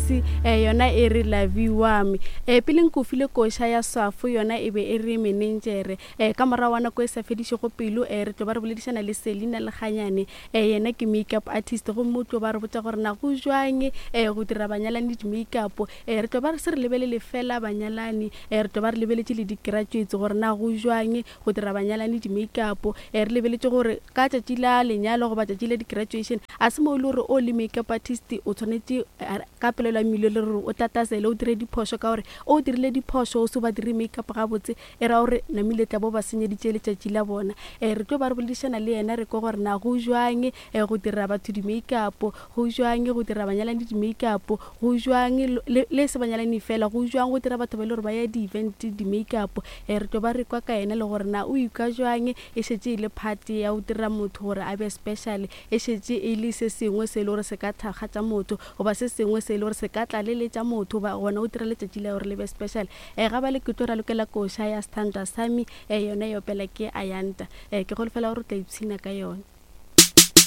Mokgosi um yona e re Lavi Wami. Um pele nko file koša ya Swafo yona e be e re Menenjere. Um ka morago wa nako e sa fedišego pelo um re tlo ba re boledišana le Selina Lekganyane um yena ke makeup artist gomme o tlo ba re botša gore na go jwang um go dira banyalani di-makeup. Um re tlo ba re se re lebelele fela banyalani um re tlo ba re lebeletše le di-graduates gore na go jwang go dira banyalani di-makeup. Um re lebeletše gore ka tšatši la lenyalo goba tšatši la di-graduation a se mo e le gore o le makeup artist o tshwanetše ka polelo ya mmilo le gore o tatasele o dire diphošo ka gore o dirile diphošo o se ba dire makeup gabotse e ra gore namile tla bo ba senyeditše letšatši la bona. Um re tlo ba re boledišana le yena re kwe gore na go jwang um go dira batho di-makeup, go jwang go dira banyalani di-makeup, go jwang le le se banyalani fela, go jwang go dira batho ba e le gore ba ya di-event di-makeup. Um re tlo ba re kwa ka yena le gore na o ikwa jwang e šetše e le part ya go dira motho gore a be special, e šetše e le se sengwe se e le gore se ka thakgatša motho goba se sengwe se e le gore se ka tlaleletša motho goba gona go dira letšatši la gore le be special. Um ga bale ke tlo ralokela koša ya Sthandwa Sami, um yona e opela ke Ayanda. Um ke holofela gore o tla ipshina ka yona.